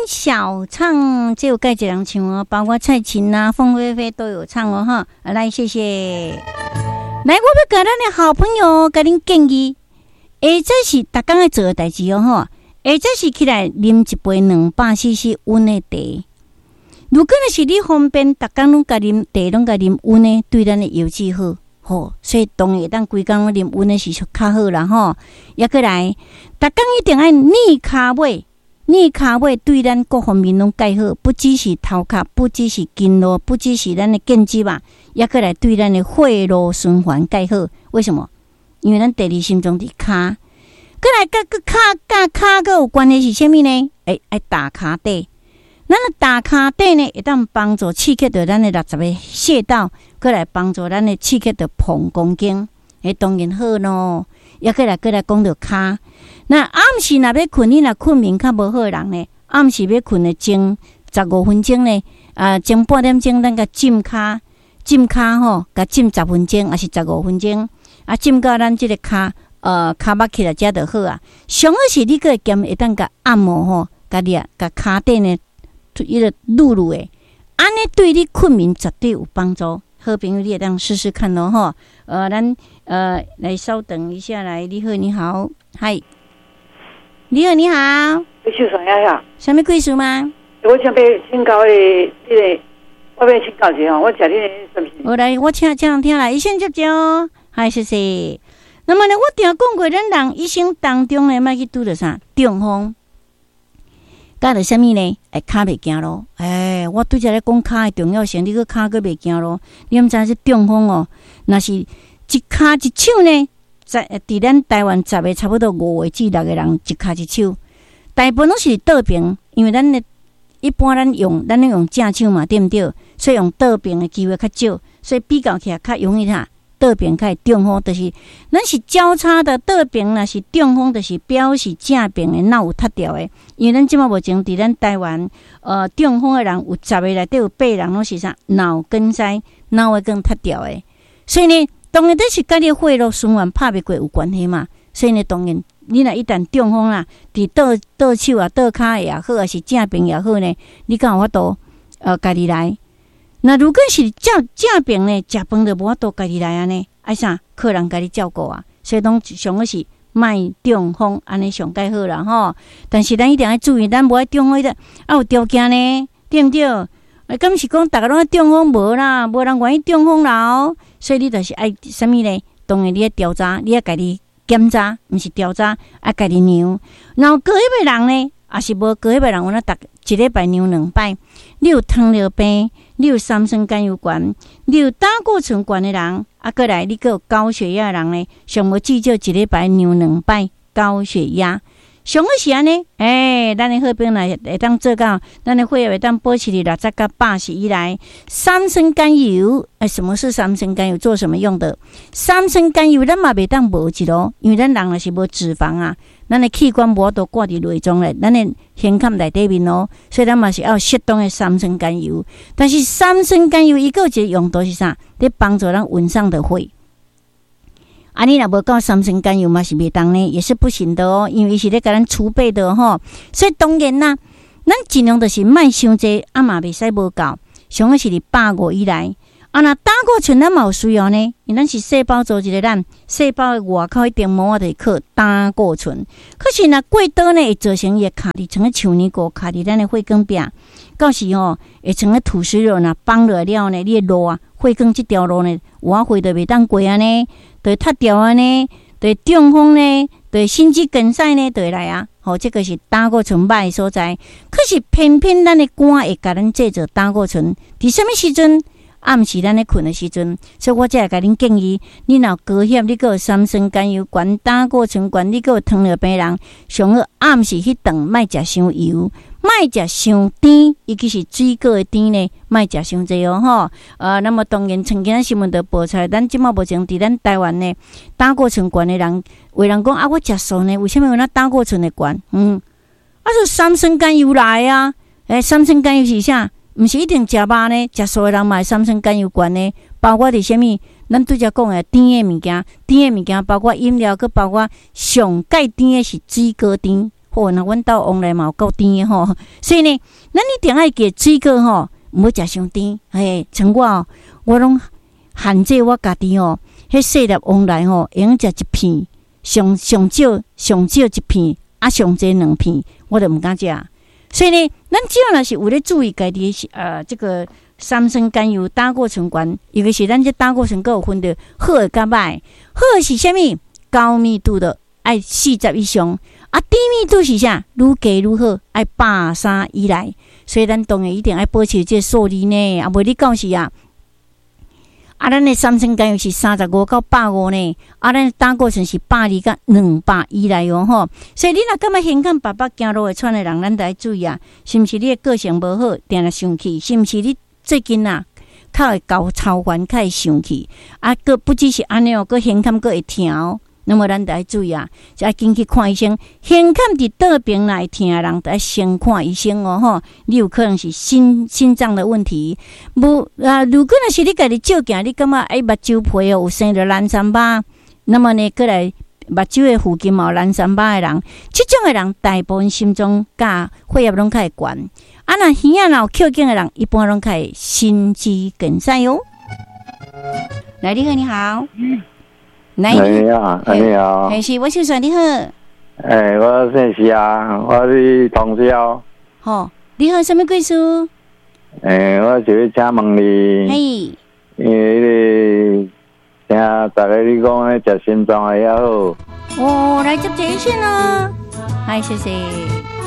小唱，這有蓋一人唱哦，包括蔡琴啊、鳳飛飛都有唱哦，哈！來，謝謝。來，我欲共咱的好朋友共恁建議，下早時逐工愛做的代誌哦，吼，下早時起來啉一杯200 cc 溫的茶。如果若是你方便，逐工攏共啉茶，攏共啉溫的，對咱的腰子好，吼，所以當然會當規工攏啉溫的是較好啦，吼。抑閣來，逐工一定愛捏跤尾。捏跤尾對咱各方面攏蓋好，不只是頭殼，不只是筋絡，不只是咱的腱子吧，抑閣來對咱的血路循環蓋好。為什麼？因為咱第二心臟佇跤，閣來佮佮跤佮跤閣有關係是啥物呢？欸，愛踏跤底，咱的踏跤底呢，會當幫助刺激著咱的60個穴道，閣來幫助咱的刺激著膀胱經，欸，當然好咯。抑閣來閣來講著跤。那暗時若欲睏，你若睏眠較無好的人呢？暗時欲睏的前15分鐘呢？啊，前半點鐘咱共浸跤，浸跤吼，共浸十分鐘，抑是十五分鐘，啊，浸到咱這个跤，跤目起來才就好啊。上好是你閣會兼會當共按摩吼，共你啊，共跤底呢，伊個擼擼的，按呢對你睏眠絕對有幫助。好朋友，你會當試試看咯吼。咱來稍等一下，來，你好，你好，嗨。你好，你好。你秀爽呀呀？啥物貴數嗎？我想欲請教你，這个，我欲請教一下，我食你的什麼？我來，我請請聽來，醫生接招，嗨，謝謝。那麼呢，我定講過，咱人一生當中呢，莫去拄著啥中風，佮著啥物呢？欸，跤袂行路。欸，我拄才咧講跤的重要性，你閣跤閣袂行路，你毋知這中風哦？若是一跤一手呢？在佇咱台灣十個差不多五個至六個人一跤一手，大部分攏是倒爿，因為咱的一般咱攏用正手嘛，對毋對？所以用倒爿的機會較少，所以比較起來較容易啥？倒爿較會中風，就是咱是交叉的倒爿，若是中風，就是表示正爿的腦有脫掉的。因為咱這馬目前佇咱台灣，中風的人有十個內底有八個人攏是啥？腦梗塞，腦會更脫掉的。所以呢，當然這是佮你血路循環拍袂過有關係嘛。所以呢，當然你若一旦中風啦，佇倒倒手啊、倒跤也好，抑是正爿也好呢，你敢有法度家己來？那如果是正正爿呢，食飯就無法度家己來按呢，愛啥靠人共你照顧啊？所以講上好是莫中風，按呢上蓋好啦吼。但是咱一定愛注意，咱無愛中風，啊有條件呢，對毋對？啊，敢是講逐个攏愛中風無啦？無人願意中風啦哦。所以你就是愛啥物呢？當然你愛調查，你愛家己檢查，毋是調查，愛家己量。若有高血壓的人呢，抑是無高血壓的人，有影逐一禮拜量兩擺。你有糖尿病，你有三酸甘油懸，你有膽固醇懸的人，啊，閣來你閣有高血壓的人呢，上無至少一禮拜量兩擺高血壓。上好是按呢，欸，咱的好朋友會當做到，咱的血壓會當保持佇60佮80以內。三酸甘油，欸，什麼是三酸甘油？做什麼用的？三酸甘油咱嘛袂當無一咯，因為咱人若是無脂肪啊，咱的器官無法度掛佇內臟咧，咱的胸坎內底面咯，所以咱嘛是愛適當的三酸甘油。但是三酸甘油伊閣有一個用途是啥？佇幫助咱腎上的血。啊，你若無夠三酸甘油嘛是袂當呢，也是不行的哦，因為伊是咧共咱儲備的吼。所以當然啦，咱盡量就是莫傷濟，啊嘛袂使無夠，上好是佇150以內。啊，若膽固醇咱嘛有需要呢，因為咱是細胞組織的咱，細胞的外口彼層膜就是靠膽固醇。可是若過多呢，會造成伊會卡佇像個樹泥糊卡佇咱的血管壁，到時吼會像個土石流若崩落來了呢，你的路啊，血管這條路呢，有影血就袂當過按呢，就會塞掉按呢，就會中風呢，就會心肌梗塞呢，就會來啊。吼，這個是膽固醇歹的所在。可是偏偏咱的肝會共咱製造膽固醇，佇啥物時陣？暗時咱咧睏的時陣，所以我才會共恁建議，你若有高血壓，你閣有三酸甘油懸、膽固醇懸，你閣有糖尿病人，上好暗時彼頓莫食傷油，莫食傷甜，尤其是水果的甜呢，莫食傷濟哦吼。那麼當然，像今仔新聞就報出來，咱這馬目前佇咱台灣呢，膽固醇懸的人，有人講啊，我食素呢，為啥物有那膽固醇會懸？啊，就三酸甘油來啊，欸，三酸甘油是啥？毋是一定食肉呢，食素的人嘛會三酸甘油懸呢。包括佇啥物？咱拄才講的甜的物件，甜的物件包括飲料，閣包括上蓋甜的是水果甜。好，那阮兜旺來嘛有夠甜的吼，所以呢，咱一定愛記水果吼，毋好食傷甜。嘿，像我哦，我攏限制我家己吼，彼細粒旺來吼，會用食一片，上上少上少一片，啊上濟兩片，我就毋敢食。所以呢，咱只要若是有咧注意家己的這個三酸甘油膽固醇懸，尤其是咱這膽固醇閣有分著好的佮歹，好的是啥物？高密度的愛40以上，啊低密度是啥？愈低愈好，愛130以內。所以咱當然一定愛保持這個數字呢，啊無你到時啊，啊咱的三酸甘油是35到150呢，啊咱膽固醇是120到200以內哦吼。所以你若感覺胸坎腹腹行路會喘的人，咱著愛注意啊，是毋是你的個性無好，定定生氣？是毋是你最近啊，較會厚操煩，較會生氣？啊，閣不只是按呢哦，閣胸坎閣會疼哦。那麼咱著愛注意啊，就愛緊去看醫生。胸坎佇倒爿來疼的人，著愛先看醫生哦吼。你有可能是心臟的問題。無啊，如果若是你家己照鏡，你感覺哎目睭皮哦有生著藍山疤，那麼呢，閣來目睭的附近嘛有藍山疤的人，這種的人大部分心臟佮血壓攏較會懸。啊，若耳仔若有扣頸的人，一般攏較會心肌梗塞喲。來，你好，你好。來，你好，你好，係是，我先生你好。欸，我姓謝啊，我是同銷。吼，你好，啥物貴事？欸，我是欲請問你。嘿。因為彼個聽逐个你講咧，食心臟的也好。哦，來接熱線咯。嗨，謝謝。